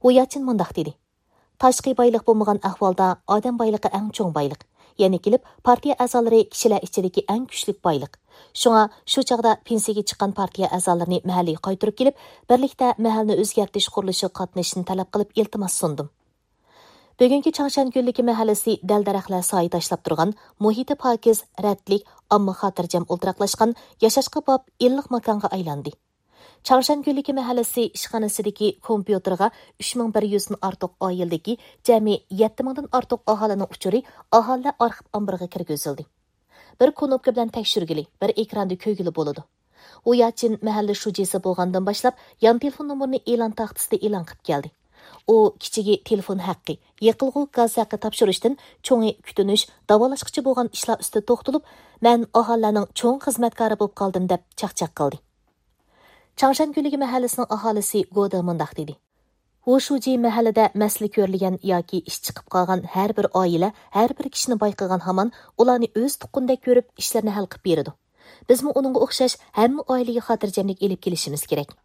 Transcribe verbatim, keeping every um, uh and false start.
ۋۇياچىن مۇنداق دېدى: تاشقى بايلىق بولمىغان ئەھۋالدا ئادەم بايلىقى ئەڭ چوڭ بايلىق. يەنە كېلىپ، پارتىيە ئەزالىرى كىشىلەر ئىچىدىكى ئەڭ كۈچلۈك بايلىق. شۇڭا شۇ چاغدا پېنسىيەگە چىققان پارتىيە ئەزالىرىنى مەھەللىگە قايتۇرۇپ كېلىپ، بىرلىكتە مەھەللىنى ئۆزگەرتىش قۇرۇلۇشىغا قاتنىشىشنى تەلەپ قىلىپ ئىلتىماس سۇندۇم. بۈگۈنكى چاڭشەن گۈللۈكى مەھەللىسى دەل-دەرەخلەر سايە تاشلاپ تۇرغان، مۇھىتى پاكىز، رەتلىك، ئامما خاتىرجەم ئولتۇراقلاشقان، ياشاشقا باب، ئىللىق ماكانغا ئايلاندى. چاڭشەن گۈللۈكى مەھەللىسى ئىشخانىسىدىكى كومپيۇتېرغا ئۈچ مىڭ بىر يۈزدىن ئارتۇق ئائىلىدىكى جەمئىي يەتتە مىڭدىن ئارتۇق ئاھالىنىڭ ئۇچۇرى ئاھالىلەر ئارخىپ ئامبىرىغا كىرگۈزۈلدى. بىر كۇنۇپكا بىلەن تەكشۈرگىلى، بىر ئېكراندا كۆرگىلى بولىدۇ. ۋۇياچىن مەھەللە شۇجىسى بولغاندىن باشلاپ، يان تېلېفون نومۇرىنى ئېلان تاختىسىدا ئېلان قىلىپ كەلدى. ئۇ كىچىكى تېلېفون ھەققى، يېقىلغۇ گاز ھەققى تاپشۇرۇشتىن چوڭى كۈتۈنۈش، داۋالاشقىچە بولغان ئىشلار ئۈستىدە توختىلىپ، مەن ئاھالىلەرنىڭ چوڭ خىزمەتكارى بولۇپ قالدىم، دەپ چاقچاق قىلدى. چاڭشەن گۈللۈكى مەھەللىسىنىڭ ئاھالىسى گودې مۇنداق دېدى: ۋۇ شۇجى مەھەللىدە مەسىلە كۆرۈلگەن ياكى ئىش چىقىپ قالغان ھەر بىر ئائىلە، ھەر بىر كىشىنى بايقىغان ھامان ئۇلارنى ئۆز تۇغقىنىدەك كۆرۈپ، ئىشلىرىنى ھەل قىلىپ بېرىدۇ. بىزمۇ ئۇنىڭغا ئوخشاش ھەممە ئائىلىگە خاتىرجەملىك ئېلىپ كېلىشىمىز كېرەك.